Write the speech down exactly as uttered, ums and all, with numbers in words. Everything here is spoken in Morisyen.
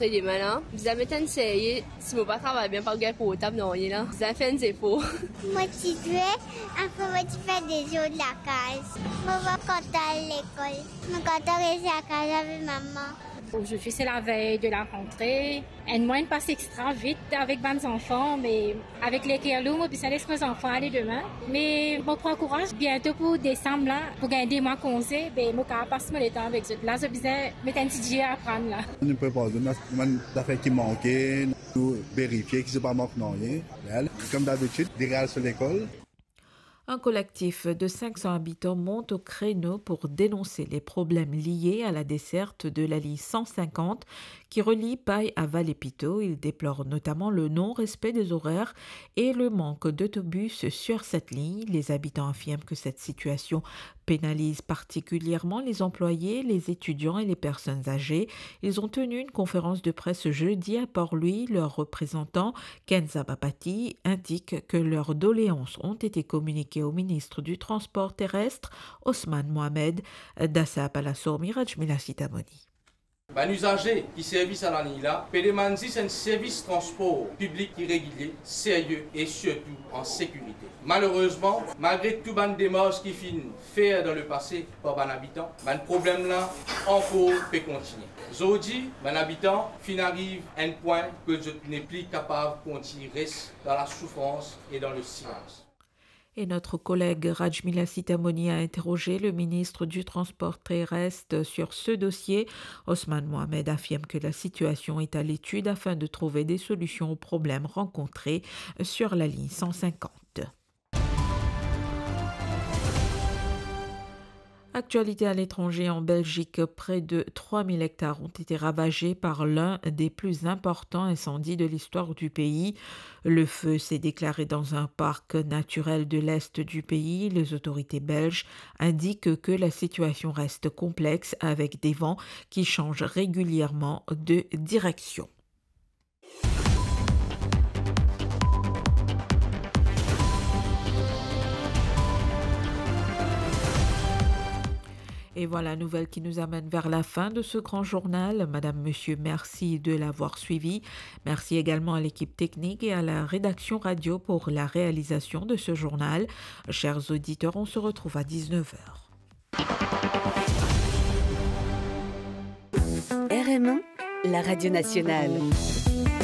Demin la, bizin met enn serye, si mo pa travay bien, pa gagn portab, nanye la. Bizin fer enn zefor. Mo ti zwe, apre mo ti fer dezord lakaz. Mo pa kontan al lekol. Mo kontan res lakaz avek mama. Aujourd'hui, c'est la veille de la rentrée. Enn mwa inn pas extra vit avek bann zanfan, me avek leker lour, mo bizin les mo zanfan ale demin. Me mo pran kouraz, biento pou desam la, pou gagn de mwa konze, be mo kapav pas mo letan avek zot. La, zot bizin met enn ti dir aprann la. Nou prepar zot, nou, nou zafer ki manke, nou verifie ki zot pa mank nanye. Wel, comme d'habitude, li al so lekol. Un collectif de cinq cents habitants monte au créneau pour dénoncer les problèmes liés à la desserte de la ligne cent cinquante qui relie Paille à Vallée-Pito. Ils déplorent notamment le non-respect des horaires et le manque d'autobus sur cette ligne. Les habitants affirment que cette situation pénalise particulièrement les employés, les étudiants et les personnes âgées. Ils ont tenu une conférence de presse jeudi à Port-Louis. Leur représentant, Kenza Bapati, indique que leurs doléances ont été communiquées au ministre du Transport terrestre, Osman Mohamed. Dasa Palasormi, Rajmila Sitamoni. Bann izaze ki servi sa laliny la pe demann zis enn servis transpor piblik ki regilie, serye e sirtou an sekirite. Malerezman, malgre tou bann demars ki finn fer dan lepase par bann abitan, bann problem la ankor pe kontigne. Zordi, bann abitan finn ariv enn pwin ke zot nepli kapav kontign res dan lasoufrans e dan lesilans. Et notre collègue Rajmila Sitamoni a interrogé le ministre du Transport terrestre sur ce dossier. Osman Mohamed affirme que la situation est à l'étude afin de trouver des solutions aux problèmes rencontrés sur la ligne cent cinquante. Actualité à l'étranger, en Belgique, près de trois mille hectares ont été ravagés par l'un des plus importants incendies de l'histoire du pays. Le feu s'est déclaré dans un parc naturel de l'est du pays. Les autorités belges indiquent que la situation reste complexe avec des vents qui changent régulièrement de direction. Et voilà, nouvelle qui nous amène vers la fin de ce grand journal. Madame, monsieur, merci de l'avoir suivi. Merci également à l'équipe technique et à la rédaction radio pour la réalisation de ce journal. Chers auditeurs, on se retrouve à dix-neuf heures. R M un, la radio nationale.